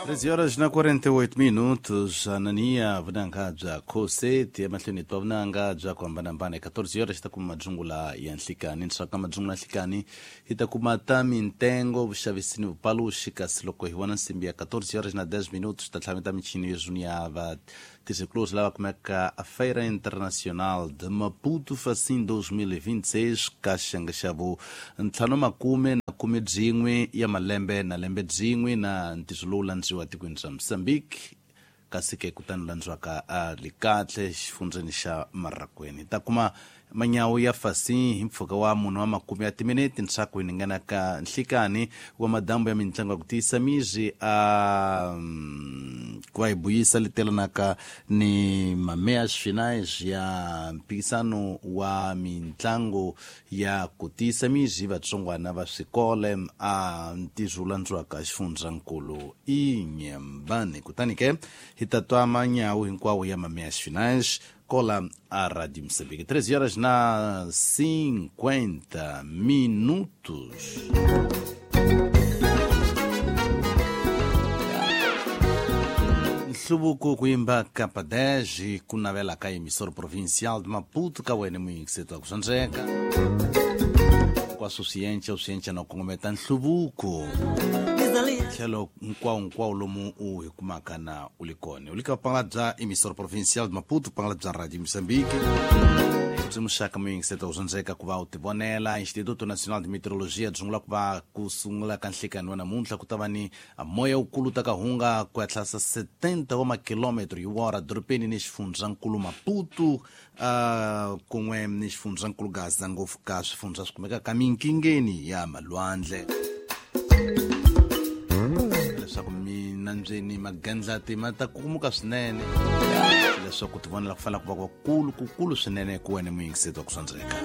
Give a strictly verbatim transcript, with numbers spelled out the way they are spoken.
treze horas na quarenta e oito minutos, anania vunanga bya khoseti emahlweni twa vunanga bya ku hambanahambana. catorze horas hi ta kuma madzungula ya nhlikani, ndzhaku ka madzungula ya nhlikani hi ta kuma ta mintengo, vuxavisi ni vupaluxi. Kasi loko hi vona nsimbi ya catorze horas na dez minutos ta tlhameta michini yo zunia va tirhisikulori lava kumeka a Feira Internacional de Maputo Facim dois mil e vinte e seis ka xiyenge xa vu ntlhanu makume na khume byin'we ya malembe na lembe byin'we na ntirho lowu landziwa tikweni ra Mozambique, kasi ke kutani landziwaka a Likatle xifundzeni xa Marraquene. Ta kuma manyawu ya Facim hi mpfhuka wa munhu wa makume ya timinete ndzhaku hi ningana ka nhlikani wa madambu ya mintlangu ya ku tiyisa miri a ku va hi buyisa letelanaka ni mameias finais ya mpikisano wa mintlangu ya ku tiyisa miri vatsongwana va swikole a ntirho wu landziwaka xifundzankulu Inhambane. Kutani ke hi ta twa manyawu hinkwawo ya mameias finais cola a Rádio Moçambique. treze horas na cinquenta minutos. Nhluvuko ku yimba Kapa dez ku navela ka emissora provincial de Maputo ka wena muyingiseti wa ku swandzeka kwa suciência na kongometa nhluvuko tlhelo hinkwawo hinkwawo lomu u hi kumaka na u li kona u li ka vupangala bya emissora provincial de Maputo, vupangala bya Radio Moçambique. Byi muxaka muyingiseti wa ku swandzeka ku va u tivonela. Instituto Nacional de Meteorologia byi sungula ku va ku sungula ka nhlikani wa namuntlha ku ta va ni moya wukulu ta ka hunga ku ya tlhasa setenta wa makilometro hi wora dorobeni ni xifundzankulu Maputo, uh, kun'we ni xifundzankulu Gaza, ngopfu ka swifundza swi kumekaka minkingeni ya malwandle. Leswaku minambyeni magandlati ma ta kukumuka swinene, leswaku tivonela ku fanele ku va kukulu kukulu swinene ku wena muyingiseti wa ku swandzeka.